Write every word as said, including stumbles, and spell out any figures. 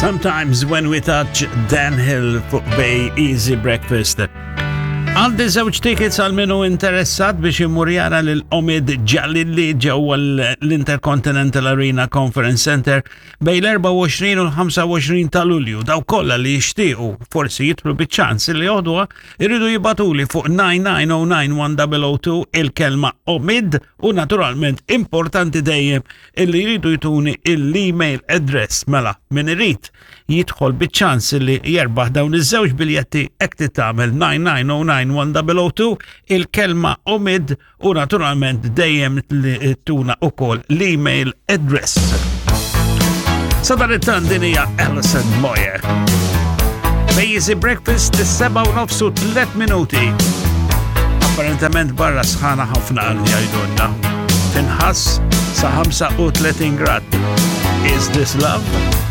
Sometimes When We Touch, Dan Hill fuq Bay Easy Breakfast. Għandi żewġ tickets għal min hu interessat biex imur jara lil Omid Djalili ġewwa l-Intercontinental Arena Conference Center bejn l-erbgħa u għoxrin u l-ħamsa u għoxrin ta' Lulju. Dawk kollha li jixtiequ forsi jidħlu biċ-ċans li joħduha irridu jibagħtuli fuq nine nine zero nine one zero zero two il-kelma Omid u naturalment importanti dejjem illi jridu jtuni l-email address. Mela, min irid jidħol biċ-ċans li jerbaħ dawn iż-żewġ biljetti, hekk tagħmel nine nine zero nine one zero zero two il-kelma Omid u naturalment dejjem li tuna ukoll l-email address. Sadanittant din hija Alison Moyet. Easy Breakfast, is-sebgħa u nofsu tliet minuti. Apparentement barra sħana ħafna għal jgħidulna. Tinħass sa ħamsa u tletin grad. Is this love?